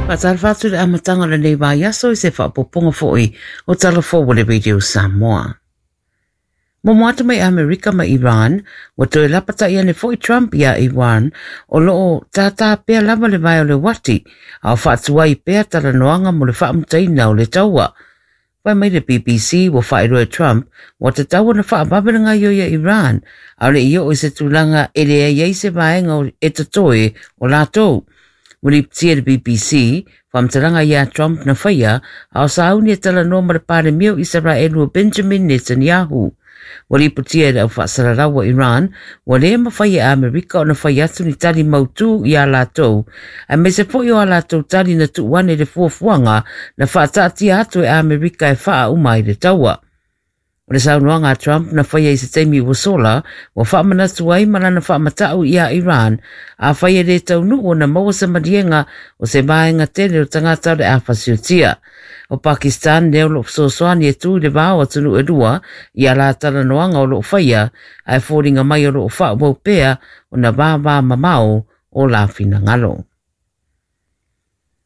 Faatalofa atu i le amataga o lenei vaiaso i se faaopoopoga foi o Tala Fou a le Radio Samoa. Momo atu mai Amerika ma Iran, ua toe lapata'i ane foi Trump iā Iran o lo o tātā pea lava le vae o le uati, a o faatuai pea talanoaga mo le faamutaina o le taua. Fai mai le BBC ua faailoa e Trump ua tatau ona faavave le gaoioi a Iran, a o le i oo i se tulaga e leai ai se vaega e totoe o latou. Ua lipotia e le BBC, faamatalaga ia Trump na faia, a o sauni e talanoa ma le Palemia o Isaraelu o Benjamin Netanyahu. Ua lipotia e le au faasalalau a Iran, ua le mafai e Amerika ona fai atu ni tali mautū iā latou, aemaise foi o a latou tali na tuu ane i le fuafuaga na faataatia atu e Amerika e faauma ai le taua. O le saunoaga a Trump na faia i se taimi ua sola, ua faamanatu ai ma lana faamata'u iā Iran, afai e lē taunuu ona maua se maliega o se vaega tele o tagata o le a fasiotia. O Pakistan lea o lo o fesoasoani e tu i le va o atunuu e lua i a la talanoaga o lo o faia, ae foliga mai o lo o faaauau pea ona vavamamao o la finagalo.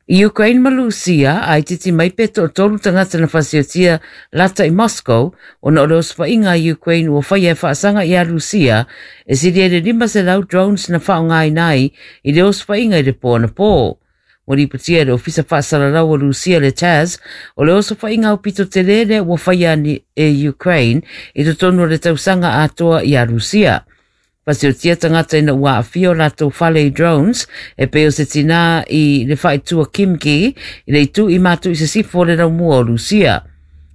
I Ukraine ma Lusia, a itiiti mai pe toatolu tagata na fasiotia lata i Moscow ona o le osofaiga a Ukraine ua faia e faasaga iā Lusia e silia i le 500 drones na faaaogaina ai i le osofaiga i le po anapō. Ua lipotia e le Ofisa Faasalalau o Lusia le TASS, o le osofaiga aupito telē lea ua faia e Ukraine i totonu o le tausaga atoa iā Lusia. Fasiotia tagata ina ua aafia o latou fale i drones, e pei o se tinā i le faaitua Kimki i le itu i matu i sisifo o le laumua o Lusia.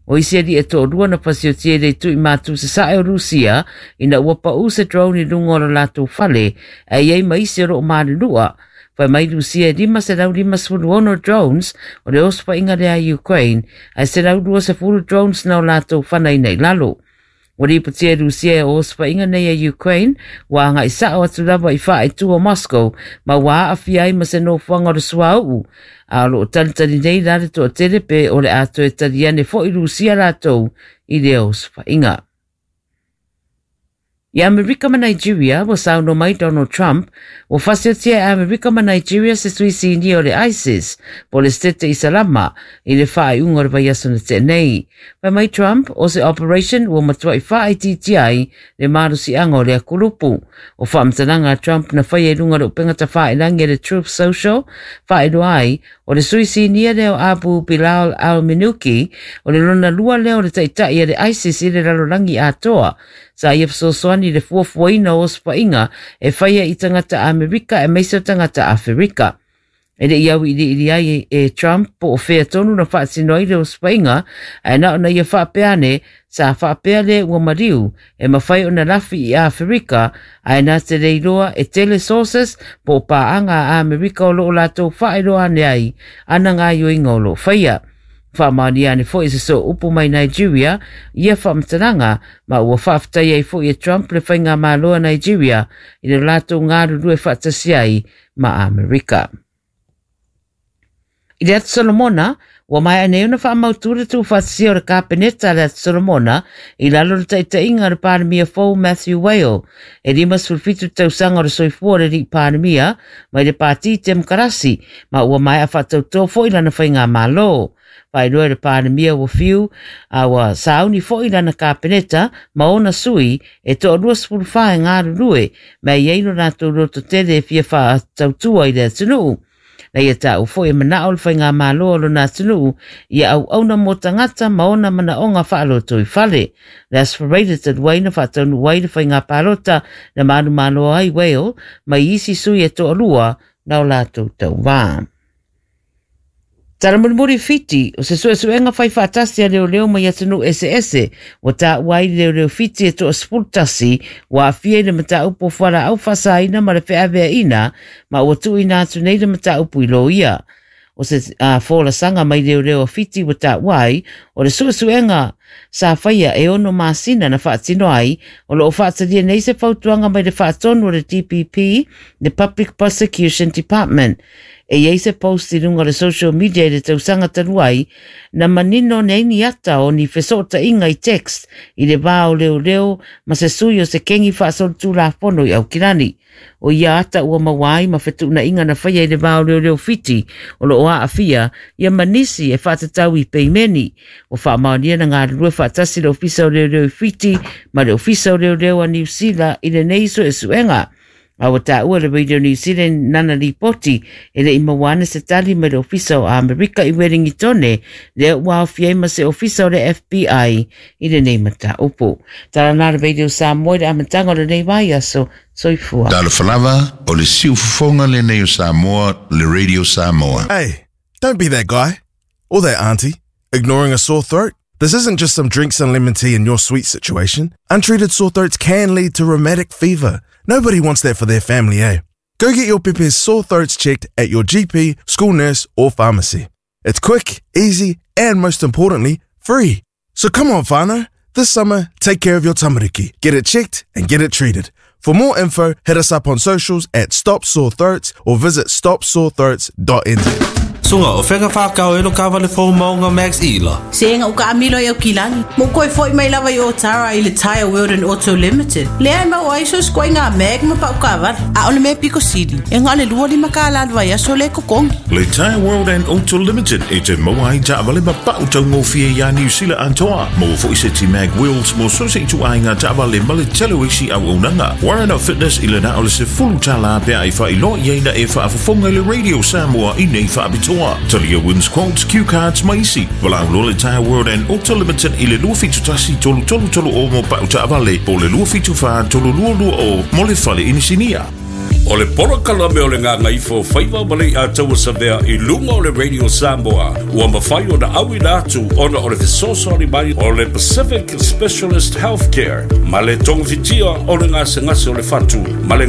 O isi alii e toalua na fasiotia i le itu i matu sasae o Lusia ina ua paʻū se drone i luga o lo latou fale, ae i ai ma isi o lo o malunua. Fai mai Lusia e 556 drones o le osofaiga lea a Ukraine, ae 120 drones na o latou fanaina i lalo. Ua lipotia e Lusia e osofaiga nei a Ukraine ua agai sa'o atu lava i faaitu o Moscow ma ua aafia ai ma se nofoaga o le suauu, a o lo o talitali nei la le toatele pe o le a toe tali ane foi Lusia latou i lea osofaiga. I Amerika ma Nigeria, ua saunoa mai Donald Trump, ua fasiotia e Amerika ma Nigeria se sui sinia o le ISIS, po o le Setete Isalama, i le faaiuga o le vaiaso na tea nei. Fai mai Trump, o se operation ua matuai faaitiitia ai le malosiaga o lea kulupu. O faamatalaga a Trump na faia i luga o le upega tafailagi a le Truth Social, faailoa ai, o le sui sinia lea o Abu Bilal al-Minuki, o le lona lua lea o le taitai a le ISIS i le lalolagi atoa. Sa ia fesoasoani i le fuafuaina o osofaiga e faia i tagata Amerika aemaise o tagata Aferika. E le i auiliili ai e Trump po o fea tonu na faatino ai le osofaiga, ae na ona ia faapea ane, sa faapea lea ua maliu e mafai ona lafi i Aferika, ae na te le iloa e tele sources po o paaga a Amerika o lo o latou faailoa ane ai ana gaoioiga o lo o faia. Faamaonia ane foi e se sooupu mai Nigeria ia faamatalaga, ma ua faafetai ai foi e Trump le faigamalo a Nigeria i le latou galulue faatasi ai ma Amerika. I le Atu Solomona, ua maea nei ona faamautu le tuufaatasia o le Kapeneta a le Atu Solomona i lalo o le taitaiga a le Palemia fou Matthew Whale. E 57 tausaga o le soifua o le alii Palemia mai le Pati Temokarasi, ma ua maea faatautō foi lana faigamalo. Faailoa e le Palemia ua fiu a ua sauni foi lana Kapeneta ma ona sui e toa 24 e galulue, ma e i ai lo latou lototele e fia faatautua i le atunuu. Na ia taua foi e manao le faigamalo a lona atunuu ia auauna mo tagata ma ona manaoga faalotoifale. Le Aso Faraile talu ai na faataunuu ai le faiga palota na manumalo ai Whale mai isi sui e toalua na o latou tauva. Tala mulimuli Fiti, o se suesuega fai faatasi a leoleo mai atunuu eseese, ua taua ai le leoleo Fiti e toa 11 ua aafia i le mataupu o fualaau faasaina ma le feaveaiina, ma ua tuuina atu nei le mataupu i loia. O se folasaga mai leoleo a Fiti ua taua ai, o le suesuega sa faia e ono masina na faatino ai, o lo o faatalia nei se fautuaga mai le faatonu o le DPP, le Public Prosecution Department. E i ai se post i luga o le social media i le tausaga talu ai, na manino nei ni ata o ni fesootaiga i text i le va o leoleo ma se sui o se kengi faasolitulafono i Aukilani. O ia ata ua maua ai ma fetuunaiga na faia i le va o leoleo Fiti o loo aafia ia ma nisi e faatatau i peimeni. Ua faamaonia na galulue faatasi le Ofisa o Leoleo i Fiti ma le Ofisa o Leoleo a Niu Sila i lenei suesuega. A ua taua le Radio New Zealand nana lipoti e le i maua ana se tali mai le Ofisa o Amerika i Wellingtone, lea ua aofia ai ma se Ofisa o le FBI i lenei mataupu. Tala na le Radio Samoa i le amataga o lenei vaiaso. Soifua. Talofa lava, o le siufofoga lenei o Samoa, le Radio Samoa. Hey, don't be that guy. Or that auntie, ignoring a sore throat. This isn't just some drinks and lemon tea in your sweet situation. Untreated sore throats can lead to rheumatic fever. Nobody wants that for their family, eh? Go get your pepe's sore throats checked at your GP, school nurse, or pharmacy. It's quick, easy, and most importantly, free. So come on, whānau. This summer, take care of your tamariki. Get it checked and get it treated. For more info, hit us up on socials at Stop Sore Throats or visit stopsorethroats.nz. Sunga o whenga whakao e lo kawale fō maunga Max Ila. Se nga uka amilo i au kilani. Mo koe foi mai lava i o tara i le Tire World and Auto Limited. Lea e mau ai so skoe ngā mag ma pau kawale. A ole me piko sili. E ngā le lua lima ka la lua ia so le kokongi. Le Tire World and Auto Limited e te maua ai taavale ma pau taugofie iā Niu Sila atoa. Maua foi seti mag wheels mo so se ituaiga taavale ma le tele o isi auaunaga. Warren Fitness i le na o le $10 pe a e faailoa i ai na e faafofoga i le Radio Samoa i nei faapitoa. Talia wins quotes, cue cards ma isi. Valaau loa le Tire World and Auto Limited i le 271 3330 mo pau taavale po o le 274 3220 mo le fale inisinia. O le polokalame o le Gagaifo Faiva ma le Iataua Savea i luga o le Radio Samoa ua mafai ona auina atu ona o le fesoasoani mai o le Pacific Specialist Healthcare ma le togafitia o le gasegase o le fatu ma le